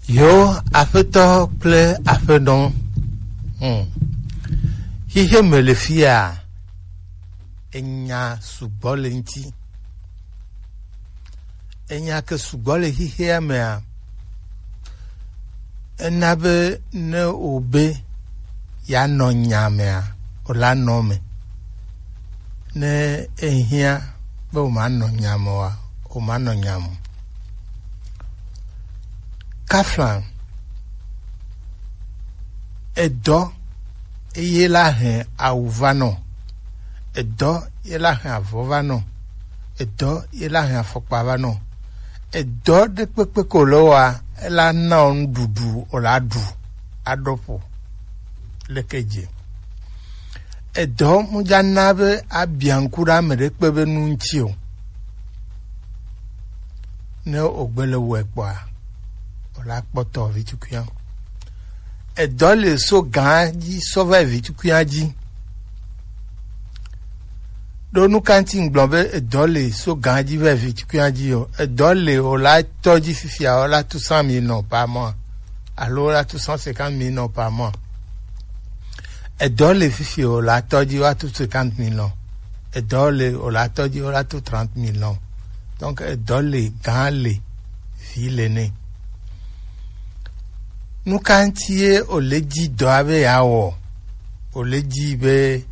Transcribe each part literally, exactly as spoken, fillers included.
Yo, aƒetɔ kple aƒenɔ. Hmm. Xixe me le fia, enya sugbɔ le ŋuti. Enya ke sugbɔ le xixea mea, ena be ne wòbe yeanɔ nya mea, wòla nɔ me. Ne ehiã be wòmanɔ nya me oa, wòmanɔ nya me o. Kaflan, edɔ eye la hɛn awu va nɔ, edɔ ye la hɛn avɔ va nɔ, edɔ ye la hɛn afɔkpa va nɔ, edɔ ɖe kpekpe ko le wa ela na wo nuɖuɖu o la ɖu aɖo ƒo leke dze. Edɔ mu dza na be abia ŋku ɖe ame ɖe kpe be nu ŋuti o. Ne wògbe le wɔe kpɔa, wòla kpɔtɔ vi tukuia. Edɔ le so gã dzi sɔ va yi vi tukuia dzi. Ɖo nu ka ŋuti ŋgblɔ be edɔ le so gã dzi va yi vi tukuia dzi o? Edɔ le wòla tɔ dzi fifia wòla tu cent mille nɔ par mois alo wòla tu cent cinquante mille nɔ par mois. Edɔ le fifi o la tɔ dzi woatu cinquante millions. Edɔ le o la tɔ dzi woatu trente millions. Donc edɔ le gã le vi le nɛ. Nu ka ŋuti ye o le dzi dɔa be yeawɔ? O le dzi be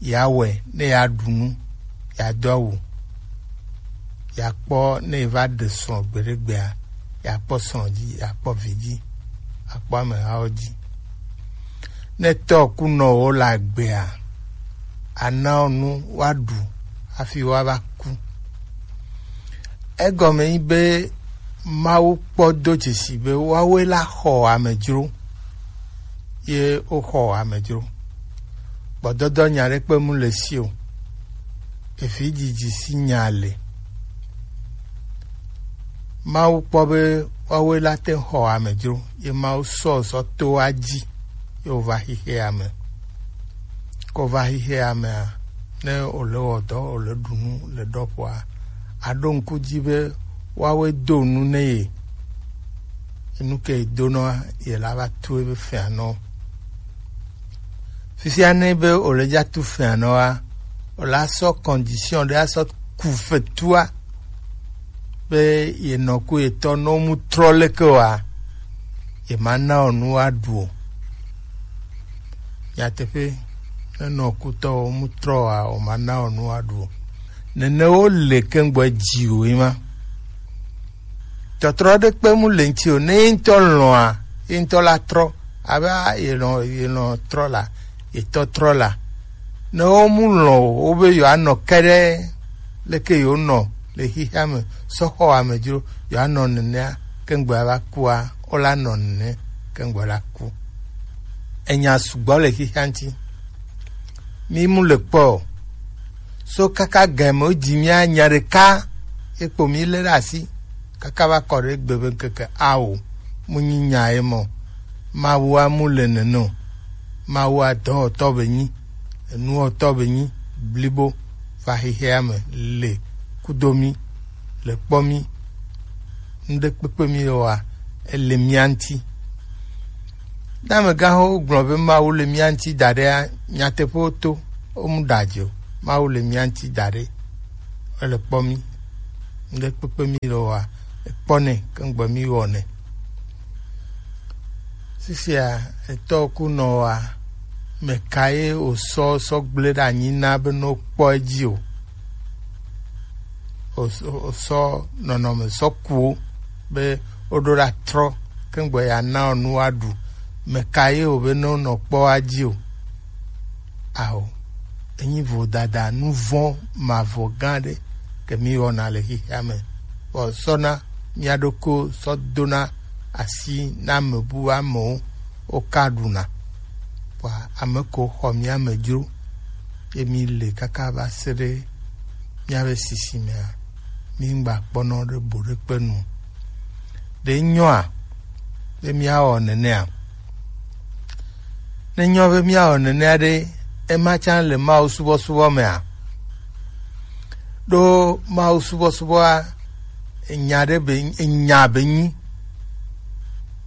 yeawɔe ne yeaɖu nu, yeado awu, yeakpɔ ne yeva ɖe srɔ̃ gbeɖegbea, yeakpɔ srɔ̃ dzi, yeakpɔ vi dzi, akpɔ amehawo dzi. Ne tɔ ku nɔwo le agbea, ana wo nu woaɖu hafi woava ku. Egɔme nyi be Mawu kpɔ do dzesi be woawoe la xɔ amedzro, ye woxɔ amedzro. Gbɔdɔdɔ nya ɖekpe mu le si o. Evi dzidzi si nya le. Mawu kpɔ be woawoe la te xɔ amedzro, ye Mawu sɔ sɔ to wa dzi, ye wova xixea me. Ko va xixea mea, ne wòle wɔ dɔ, wòle ɖu nu le ɖɔƒoa, aɖo ŋku dzi be woawoe do nu ne ye. Enu ke ye donɔa, ye la va tu ebe fɛ̃anɔ. Fifia ne be wòle dza tu fɛ̃anɔa, wòla sɔ condition ɖe asɔ ku fetua be ye nɔ ku ye tɔ nɔ mu trɔ leke wa, ye ma na o nu wa ɖu o. Nyateƒe, ne nɔ kutɔ o mu trɔ wa, o ma na o nu wa ɖu o. Nene wo le ke ŋgbɔ dzi o yi ma. Tɔtrɔ ɖe kpe mu le ŋuti o. Ne ye ŋutɔ lɔ̃a, ye ŋutɔ la trɔ. Abe a, ye lɔ̃, ye lɔ̃ trɔ la, ye tɔ trɔ la. Ne wo mu lɔ̃ o, wo be yewoanɔ ke ɖe leke yewonɔ le xexea me sɔ xɔ amedzro, yewoanɔ nenea, ke ŋgbɔ va kua, wola nɔ nene, ke ŋgbɔ la ku. Enya sugbɔ le xexea ŋuti. Mi mu le kpɔ o. So kaka gɛmɛ wo dzi mía nya ɖeka ye kpo mi lé ɖe asi kaka va kɔ ɖe egbe be ŋkeke ao mu nyi nya ye mɔ. Mawua mu le nene o. Mawua dɔwɔtɔ be nyi, enuwɔtɔ be nyi blibo va xexea me le kudo mi, le kpɔ mi. Ŋɖe kpekpe mi le wa, ele mía ŋuti. Ne amegãxowo gblɔ be Mawu le mía ŋuti da ɖea, nyateƒewo to, womu ɖa dzi o. Mawu le mía ŋuti da ɖe, ele kpɔ mí. Ŋɖe kpekpe mí le wɔa, ekpɔ nɛ, ke ŋgbe mí wɔ nɛ. Fifia, etɔ ku nɔ wa, meka ye wòsɔ sɔ gblẽ ɖe anyi na be ne wokpɔ edzi o? Wòsɔ nɔnɔme sɔ ku wo be woɖo ɖa trɔ keŋgbe yeana wo nu woaɖu. Meka ye wòbe ne wonɔ kpɔ woadzi o? Ao, enyi vodada, nu vɔ̃ mavɔ gã ɖe ke mí wɔna le xexea me. Vɔ sɔna mía ɖokui sɔ dona asi na ame bu amewo, woka ɖuna. Vɔa ame ko xɔ mía me dzro, ye mí le kaka va se ɖe míabe sisimea, mí ŋgba kpɔnɔ ɖe bo ɖe kpe nu. Ɖe nyɔa be míawɔ nenea? Ne nyɔ be míawɔ nenea ɖe, ema tsã le Mawu subɔsubɔ mea? Ɖo Mawu subɔsubɔa, enya ɖe be, enya be nyi.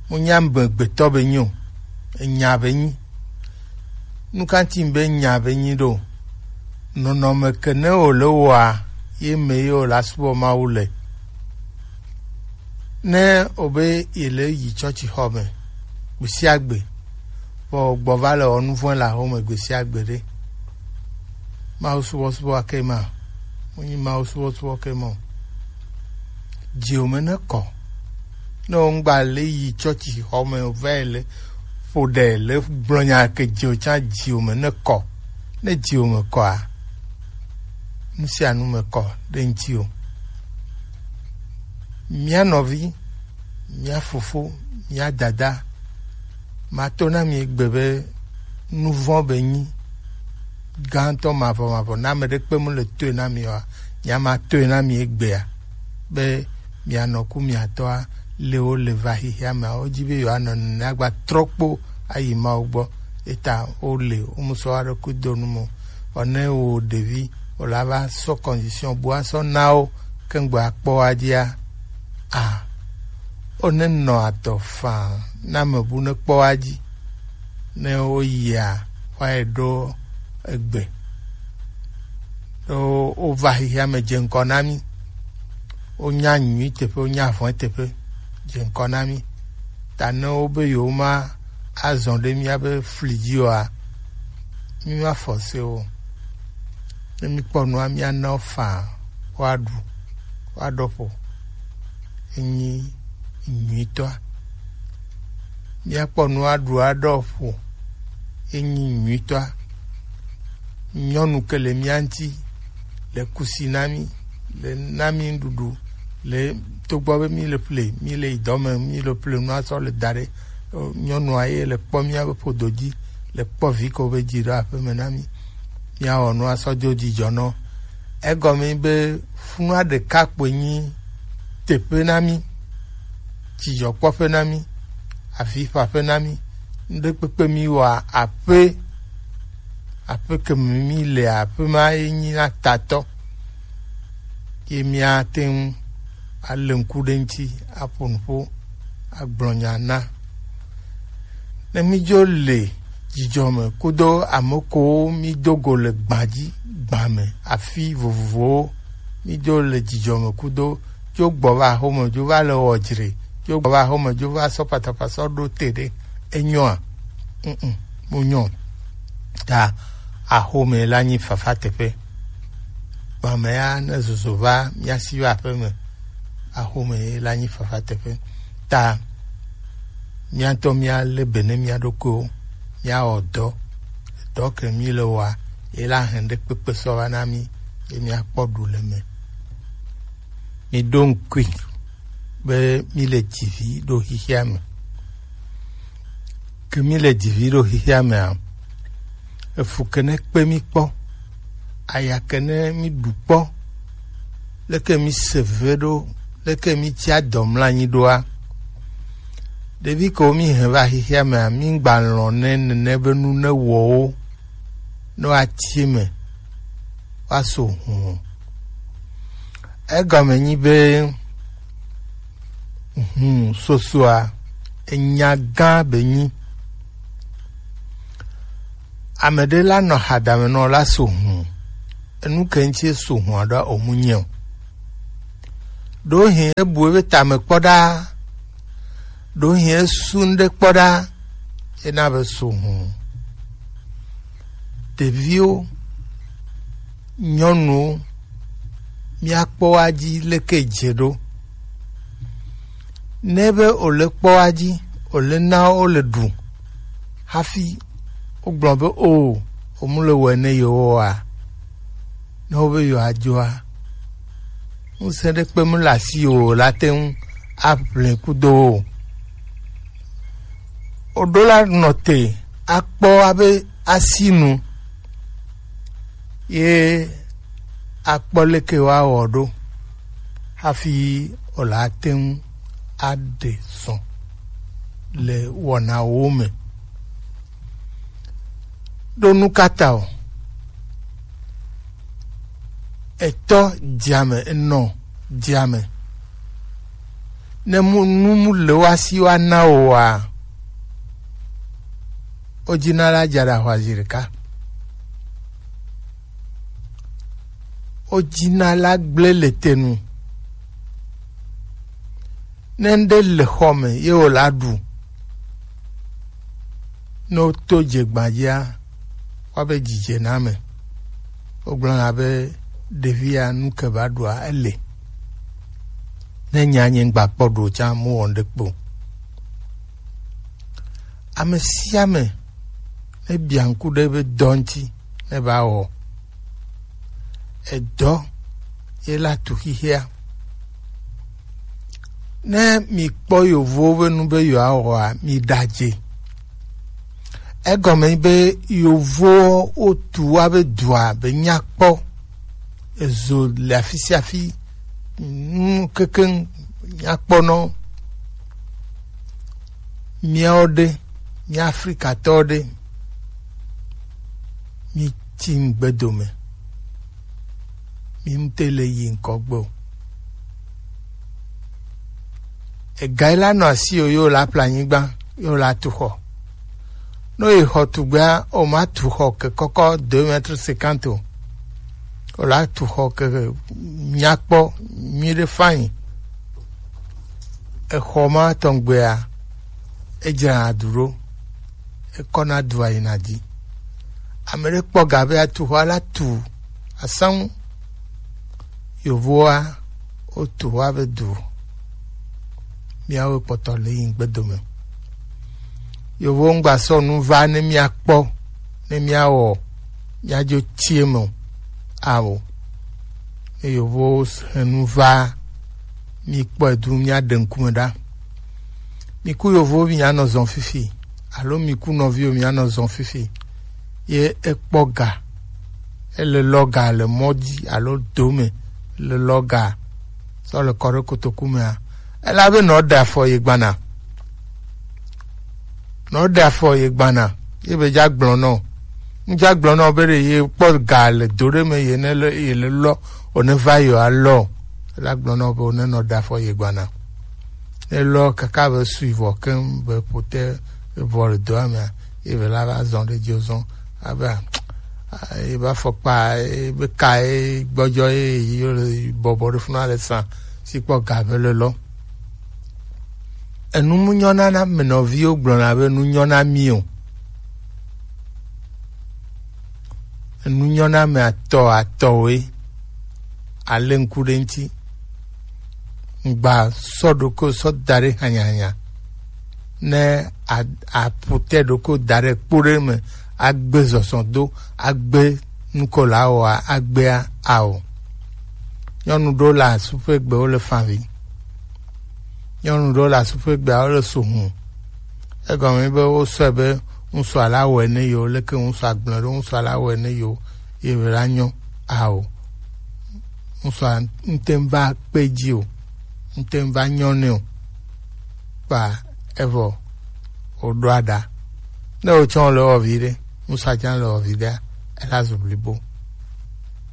Mu nya be gbetɔ be nyi o, enya be nyi. Nukanti be nya be nyi ɖo? Nɔnɔme ke ne o le wɔa, ye me ye o la subɔ Mawu le. Ne o be ye le yi tsɔtsi xɔ me gbesia gbe, vɔ gbɔ va le wɔ nuvɔn le axome gbesia gbe ɖe, Mawu subɔsubɔ ake ma, mu nyi Mawu subɔsubɔ ke ma o. Dziwò me ne kɔ. Ne wò ŋgba le yi tsɔtsi xɔ me o va yi le ƒo ɖe le gblɔ nya ke dziwò tsã dziwò me ne kɔ. Ne dziwò me kɔa, nu sia nu me kɔ ɖe ŋutiwò. Mía nɔvi, mía fofo, mía dada, mato na mi egbe be nuvɔn be nyi gãtɔ mavɔmavɔ. Ne ame ɖekpe mu le toe na mi oa, nya ma toe na mi egbea, be mianɔ ku miatɔa, le wo le va xixia mea, wo dzi be yewoanɔ nene agba trɔ kpo ayi Mawu gbɔ. Eta wo le wo mu sɔ aɖe ku do nu mo. Vɔ ne wo ɖevi, wo la va sɔ condition bu asɔ na wo, ke ŋgbe akpɔ wa dzia, a, wo ne nɔ adɔ faa na me bu ne kpɔ wa dzi. Ne wo yia, wa yi ɖo egbe. Ɖo wo va xixia me dze ŋkɔ na mi. Wo nya nyui teƒe, wo nya vɔ̃ teƒe, dze ŋkɔ na mi. Ta ne wo be yewo ma azɔ ɖe mía be fli dzi oa, mi ma force wo. Ne mi kpɔ nua, mía na wo faa, woaɖu, woaɖɔ ƒo. Enyi nyuitɔa. Míakpɔ nu aɖu aɖɔ ƒo. Enyi nyuitɔa. Nyɔnu ke le mía ŋuti, le kusi na mí, le na mí nuɖuɖu, le togbɔ be mí le ƒle, mí le yi dɔ me, mí le ƒle nu asɔ le da ɖe. Nyɔnua ye le kpɔ mía be ƒodo dzi, le kpɔ vi ko be dzi ɖo aƒe me na mí. Míawɔ nu asɔ dzo dzidzɔ nɔ. Egɔme be funua ɖeka kpoe nyi teƒe na mí, dzidzɔkpɔƒe na mí, avifaƒe na mí. Ŋɖekpekpe mí wɔa aƒe, aƒe ke me mí le aƒe ma ye nyi na tatɔ. Ye míate ŋu alé ŋku ɖe ŋuti, aƒo nu ƒo, agblɔ nya na. Ne mídzo le dzidzɔ me kudo ame kowo mído go le gbã dzi, gbã me, afi vovovowo, mídzo le dzidzɔ me kudo, dzo gbɔ va axome, dzo va le wɔ dzre, dzo gbɔ va axome, dzo va sɔ patapata sɔ ɖo te ɖe, enyoa? Mm, mm, mu nyɔ. Ta axome la nyi fafa teƒe. Gbã me ya ne zozo va mía si va aƒe me, axome ye la nyi fafa teƒe. Ta míatɔ míalé be ne mía ɖokuiwo, míawɔ dɔ, dɔ ke mí le wɔa, ye la hɛn ɖe kpekpe sɔ va na mí, ye míakpɔ ɖu le me. Mí ɖo ŋkui be mí le dzivi ɖo xixia me. Ke mí le dzivi ɖo xixia mea, efu ke ne kpe mí kpɔ, aya ke ne mí ɖu kpɔ, leke mí se ve ɖo, leke mí tsi adɔ mla anyi ɖoa? Ɖevi kewo mí hɛn va xixia mea, mí ŋgba lɔ̃ ne nene be nu ne wɔ wo, ne woatsi me, woaso hũ o. Egɔme nyi be, hũ sosoa, enya gã be nyi. Ame ɖe la nɔ hadame nɔ la so hũ. Enu ke ŋuti so hũa ɖoa, omu nyɛ o. Ɖewohĩ ebu ebe tame kpɔ ɖa. Ɖewohĩ esu ŋɖe kpɔ ɖa. Ena be so hũ. Ɖeviwo, nyɔnuwo, míakpɔ wa dzi leke dze ɖo. Ne be wòle kpɔ wa dzi, wòle na wo le ɖu hafi wogblɔ be o, womu le wɔe ne yewoa, ne wobe yewoadzɔa, ŋusẽ ɖe kpe mu le asi o la te ŋu aʋli kudo wo. Woɖo la nɔ te akpɔ abe asinu ye akpɔ leke woawɔ ɖo hafi wòle ate ŋu aɖe zɔ le wɔnawo me. Ɖo nu ka ta o? Etɔ dzeame, enɔ dzeame. Ne mu, nu mu le wa si wa na o wa, o dina la dza ɖa hwa zi ɖeka. O dina la gblẽ le te nu. Ne ŋɖe le xɔ me ye wòla ɖu, ne woto dzegbadzia, woabe dzidze na ame. Wogblɔna be ɖevia nu ke va ɖua ele. Ne nya nye ŋgba kpɔ ɖo tsã, mu wɔ ŋɖe kpo. Ame sia ame ne bia ŋku ɖe ebe dɔ ŋuti ne va wɔ. Edɔ ye la tu xixia. Ne mi kpɔ yovowo be nu be yewoawɔa, mi ɖadze. Egɔme be yovowo wotu wa be dua be nyakpɔ. Ezo le afi sia afi, nu kekeŋ nyakpɔnɔ. Míawo ɖe, mía Afrikatɔwo ɖe, mi tsi ŋgbe dome, mi ŋute le yi ŋkɔ gbe o. Ega yi la nɔ asi o, yo la ƒle anyigba, yo la tu xɔ. Ne yi xɔ tugbea, o ma tu xɔ ke kɔkɔ deux mètres cinquante o. O la tu xɔ ke nyakpɔ nyuiɖe fain. Exɔ ma tɔngbea, edzrana du ɖo, ekɔna dua yina dzi. Ame ɖe kpɔ ga be atu xɔ la tu asaŋu. Yovoa, wotu xɔa be du. Míawo kpɔtɔ le yi ŋgbe dome. Yovowo ŋgba sɔ nu va ne míakpɔ, ne míawɔ, míadzo tsi eme o. Ao. Ne yovowo he nu va, míkpɔe du, míaɖe ŋkume ɖa. Mi ku yovowo, mi anɔ zɔn fifi, alo mi ku nɔviwo, mi anɔ zɔn fifi. Ye ekpɔ ga, ele lɔ ga le mɔ dzi alo do me, le lɔ ga sɔ le kɔ ɖe kotoku mea, ela be nɔ ɖe afɔ ye gbana. Nɔ ɖe afɔ ye gbana, ye be dza gblɔ nɔ. Ŋdza gblɔ nɔ be ɖe ye kpɔ ga le do ɖe me, ye ne le, ye le lɔ, o ne va yo alɔ. Ela gblɔ nɔ be o ne nɔ ɖe afɔ ye gbana. Ne lɔ kaka be sui vɔ keŋ be pote vɔ le doa mea, ye be la va zɔn ɖe dzi zɔn. Abe, a, ye be afɔkpa, ye be ka, ye gbɔdzɔ, ye, ye le bɔbɔ ɖe funa le san, si kpɔ ga be le lɔ. Enu mu nyɔna na me nɔviwo gblɔna be nu nyɔna mi o. Enu nyɔna me atɔ atɔwoe. Ale ŋku ɖe ŋuti. Ŋgba sɔ ɖoko sɔ da ɖe hanyahanya. Ne a-, aƒo te ɖoko da ɖe kpo ɖe me, agbe zɔzɔ do, agbe nuko la wɔa, agbea ao. Nyɔnu ɖewo le asuƒe gbe, wole favi. Nyɔnu ɖewo le asuƒe gbea, wole so hũ. Egɔme be wosɔe be ŋutsua la wɔe ne yewo, leke ŋutsua gblɔ ɖo ŋutsua la wɔe ne yewo, ye be la nyɔ ao. Ŋutsua ŋte ŋva kpe dzi o, ŋte ŋva nyɔ nɛ o. Kpa evɔ wòɖo aɖa. Ne wotsɔ le wɔ vi ɖe, ŋutsua tsã le wɔ vi ɖea, ela zu blibo.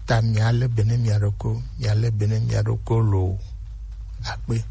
Ta mia le be ne mia ɖoko, mia le be ne mia ɖoko loo. Akpe.